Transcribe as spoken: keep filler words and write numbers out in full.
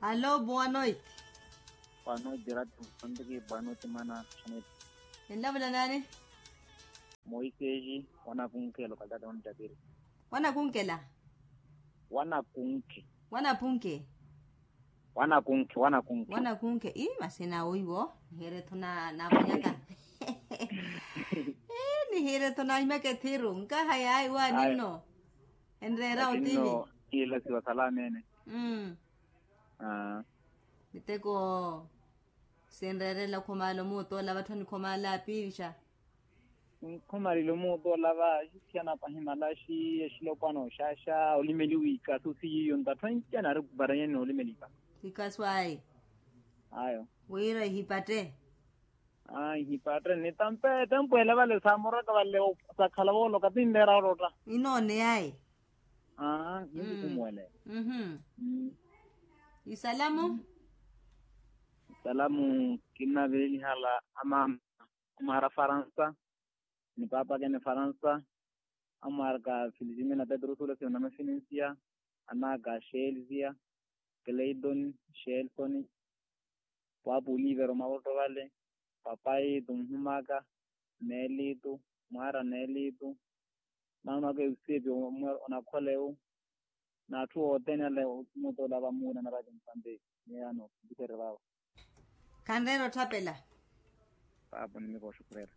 Alo, boa noite. Boa noite, Rati Msambiki. Boa noite, mana Chanete. Enlavula nani? Moisesi wanakunke lokalidade wantapiri. Wanakunkela? Wanakunke. Wanapunke? Wanakunke wanakunke. Wanakunke i masina oiwo. Nihiretho na namonyaka. Nihiretho na imekethiru nkaha yayi wa ninno. Enreera otihi. Ila siwa salamene. Mm. Miteko sinreerela khomala omuutola vatthu anikhomala apiixa. Nkhomalile omuutola va xisiyana pahimalaxi exilopwana oxaxa olimeliwa ikasu siyiyo ntatthu anci anaari kuparanyani noolimela ikasu. Ikasu ayi. Ayo. Wira ihipatte. Aa ihipatte nitampe tempo ele vale samoraka vale. Sakhala vooloka tinleera orotta. Inoone yayi. Aa hinkukumuwele. Isalamu. Isalamu kinnavelelihala amama. Amwaara faransa ni paapakene faransa. Amwaaraka filizimina petrusulo siyo namafinensiya. Anaaka sheelisiya, kleitoni, sheelisoni, paapu olivero mavoto vale, papaitu nhumaka, neelitu, mwaara neelitu, naanwaka eusepi onakhola ewu. N'atthu othene ale omutola vamuuna na vatimpanti. Miyano. Khanreera otthapela. Paapo nimikooxukhurera.